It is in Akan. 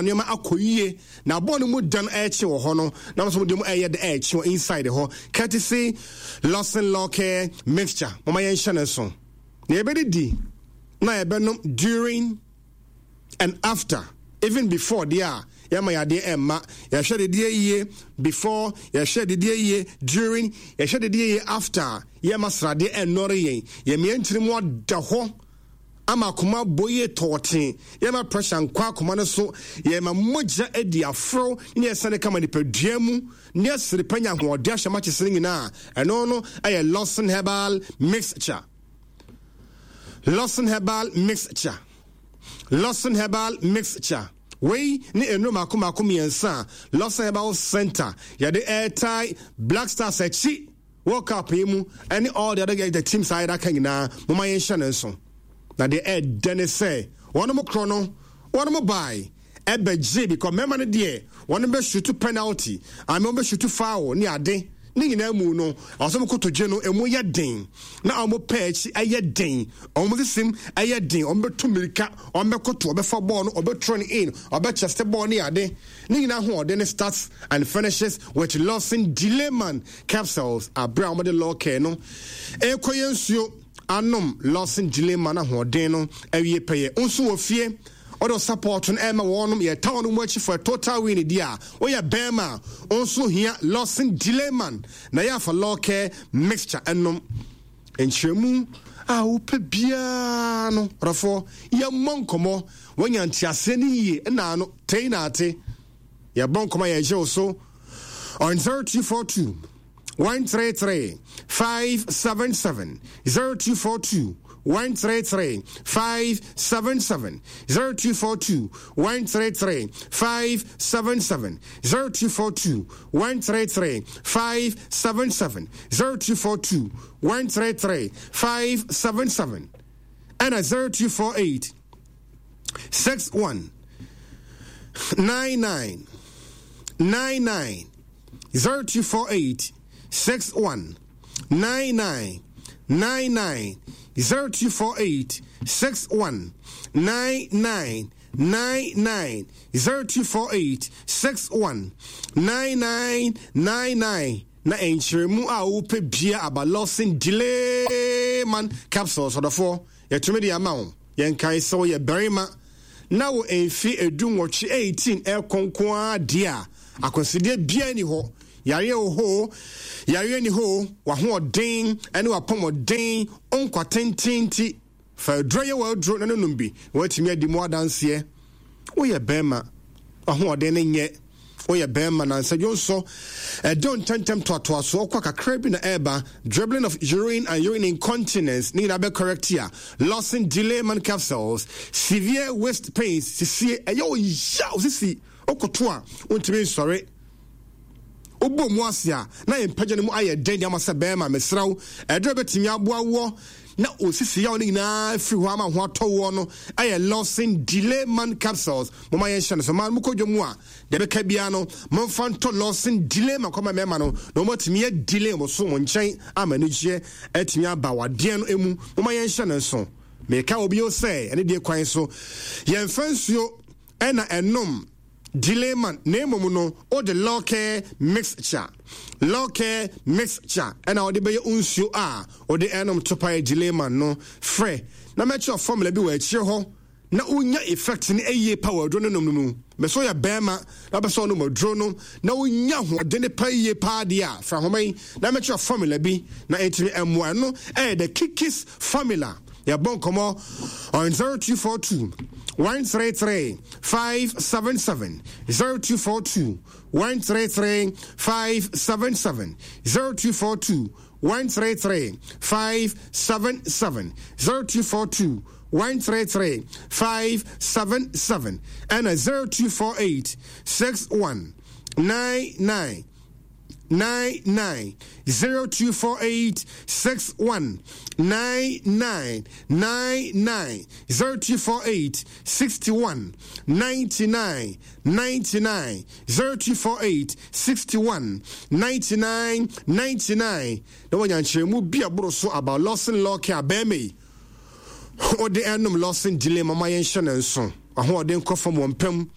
Nneɛma akɔ yie na bɔɔl no mu dan ɛrekye wɔ hɔ no na wɔn nso wɔde mu ɛreyɛ de ɛrekye wɔ inside hɔ courtesy Lawson Lawcare mixture wɔn ayɛ nhyɛ ne nso na yɛbɛdidi na yɛbɛnom during and after even before deɛ a yɛma yadeɛ ɛmma yɛhwɛ dedeɛ yie before yɛhwɛ dedeɛ yie during yɛhwɛ dedeɛ yie after yɛma sradeɛ ɛnnɔre yɛn yɛmea ntiri mu ada hɔ ama akoma abɔ yie tɔɔtee, yɛma pressure nkɔ akoma no so, yɛma mogya adi aforo ne ɛsane kama nipadua mu, ne ɛsere pa nya ahoɔden ahyɛ makyese no nyinaa. Ɛno no ɛyɛ Lawson Herbal Mixture. Lawson Herbal Mixture. Lawson Herbal Mixture. Wei ne nnuro mako mako mmiɛnsa a Lawson Herbal Center yɛde ɛretae Black Stars akyi. World Cup yi mu ɛne all the other the teams a yɛde aka nyinaa moma yɛnhyɛ no nso. Na deɛ ɛɛdɛ ne sɛ wɔn korɔ no wɔn bae ɛbɛgye because mmarima no deɛ wɔn bɛ shoot penalty ame wɔn bɛ shoot foul ne ade ne nyinaa mu no ɔsɛ wɔn kotodwe no emu yɛ den na wɔn pɛ akyi ɛyɛ den wɔn sisim ɛyɛ den wɔn bɛtu mirika wɔn bɛkoto wɔbɛfa bɔɔl no wɔbɛturo no in wɔbɛkyɛste bɔɔl ne ade Ne nyinaa ahoɔden starts and finishes with Lawson Delayman capsules. Abere a wɔde Lawcare no rekɔ yɛn nsuo anom Lawson Delayman ahoɔden no awie pɛyɛ. Nso wɔ fie ɔdɔ support no ɛma wɔnom yɛ ta wɔn mu akyi for a total win di a woyɛ bɛrima a nso hia Lawson Delayman na yɛ afa Lawcare mixture ɛnom nkyerɛmu a wopɛ biara no ɔdɔfoɔ yɛmmɔ nkɔmmɔ Woanya nteaseɛ no yie nna ano tei na ate. Yɛbɔ nkɔmɔ a yɛgye wo so on 0242 133 577 0242 133 577 0242 133 577 0242 133 577 0242 133 577 ɛna 0248 61 99 99 0248 61 99 99 0248 61 99 99 0248 61 99 99 na nkyerɛmu a wopɛ bia aba Lawson Delay Man capsules ɔdɔfoɔ Yɛtumi de ama wo. Yɛnkae sɛ woyɛ barima na wo mfe 18, 18 ɛrekɔ nko ara deɛ a, akwansideɛ biara nni hɔ. Yareɛ wɔ hɔ o, yareɛ nni hɔ o, w'ahoɔden ne w'apɔmɔden, wo nkwa tenten nti, fa aduro yɛ w'aduro na no nom bi na woatumi adi mu adanseɛ. Woyɛ barima, w'ahoɔden no nyɛ. Woyɛ bɛrima na nsadwonsɔ ɛdɔ ntɛmntɛm toatoasoɔ kɔ kakra bi na ɛreba dribbling of urine and urine incontinence ne nyinaa bɛ correct a Lawson delay man capsules severe waist pains sisie ɛyɛ ɔya osisi okoto a wontumi nsɔre wobɔ mu ase a na yɛn mpagya no mu ayɛ den de ama sɛ bɛrima mesrɛ wo ɛdurɛ bɛtumi aboa woɔ na osisi yaw no nyinaa firi hɔ ama ho atɔ woɔ no ɛyɛ Lawson delay man capsules moma yɛnhyɛ no so maa no mokɔ dwa mu a Deɛ ɛbɛka biara no, momfa ntɔ Lawson delay ma kɔma mmarima no na wɔatumi adelay mo so mo nkyɛn ama anigyeɛ atumi aba wadeɛ no mu. Momma yɛnhyɛ no nso. Meka wɔ bio sɛ, ɛne deɛ kwan so yɛmfa nsuo ɛna ɛnom delay man na mmom no wode Lawcare mixture Lawcare mixture ɛna wode bɛyɛ nsuo a wode ɛnom topae delay man no frɛ na mɛkyerɛ formula bi wɔ akyire hɔ na wonya effect no yie pa wɔ aduro no nom no mu. Mɛ sɛ ɔyɛ bɛrima na wopɛ sɛ ɔnom aduro no na wonya ahoɔden pa yie paa deɛ a, fra nhoma yi na mɛkyerɛ formula bi na ɛntumi mmoa. Ɛno ɛyɛ the Kikis formula. Yɛbɔ nkɔmmɔ on 0242 133 577 0242 133 577 0242 133 577 0242 133 577 ɛna 0248 61 99 99 0248 61 99 99 0248 61 99 99 0248 61 99 99 na wanya nkyerɛmu bi a boro so about Lawson Law Care bɛrima yi wode ɛnom Lawson Delay mama yɛnhyɛ no nso ahoɔden kɔ fam wɔ mpam.